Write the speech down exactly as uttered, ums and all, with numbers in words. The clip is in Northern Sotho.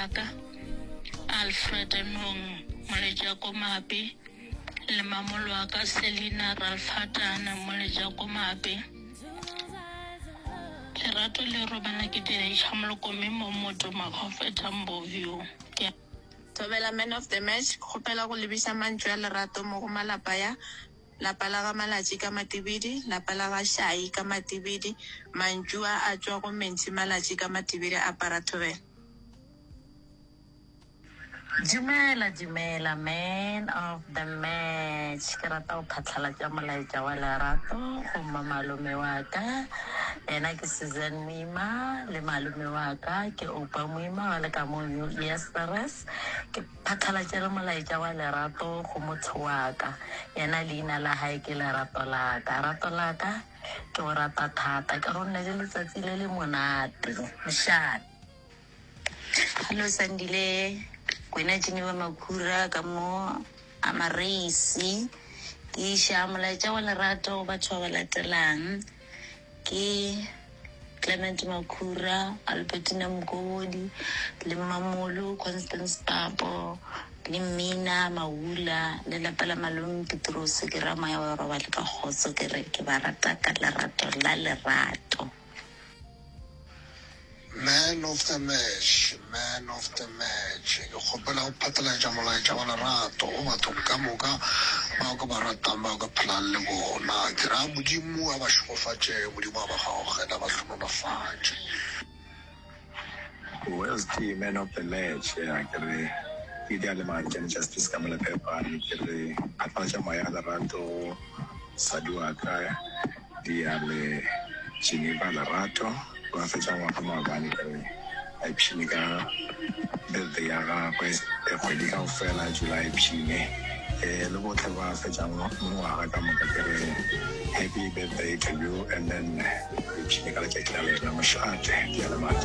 wa ka Alfred Nong Molejakomape le mamolo wa ka Selina Ralfatana Molejakomape. Lerato le robala ke Diaisha Moloko mme mo moto Makgofetha Mboview. Ke Thobela Man of the Match, Kgopela go lebiša mantšu a lerato mo go malapa ya, Lapa la ga Malatši ka Matibidi, lapa la ga Shai ka Matibidi, mantšu a a tšwa go Mentši Malatši ka Matibidi apara thobela. Dumela dumela man of the match ke rata go phatlalatša molaetša wa lerato go mmamalome wa ka yena ke Suzanne Moima le malome wa ka ke Oupa Moima ba le ka mo New Easteres ke phatlalatše le molaetša wa lerato go motho wa ka yena leina la hae ke lerato la ka rato la ka ke go rata thata ke go nne le letsatsi le le monate mošate Hello Sandile, kwena Geneva Makhura ka mo Amareisi. Ke iša molaetša wa lerato go batho ba ba latelang. Ke Clement Makhura, Albertina Mokobodi, le Mmamolo, Constance Papo, le Mmina Maula, le lapa la malome Petrose ke ra moya wa robale ka kgotso ke re ke ba rata ka lerato la lerato. Man of the match, man of the match. Ke kgopela go phatlalatša molaetša wa lerato go bathong ka moka bao ke ba ratang bao ke phelang le bona. Ke ra Modimo a ba šegofatše, Modimo a ba gaogele, a ba hlonolofatše. West man of the match ya ke re ke di a le Mantšane Justice ka Molephepane ke re phatlalatša moya lerato go mosadi wa ka di a le Geneva Lerato ba fetša ngwaga maabane ke re a ipshine ka birthday ya gagwe e kgwedi kaofela July ipshine um le botlhe ba fetšang ngwaga ka moka ke re happy birthday to you and then ipshine ka letšatši la lena mošate di a le Mantšane.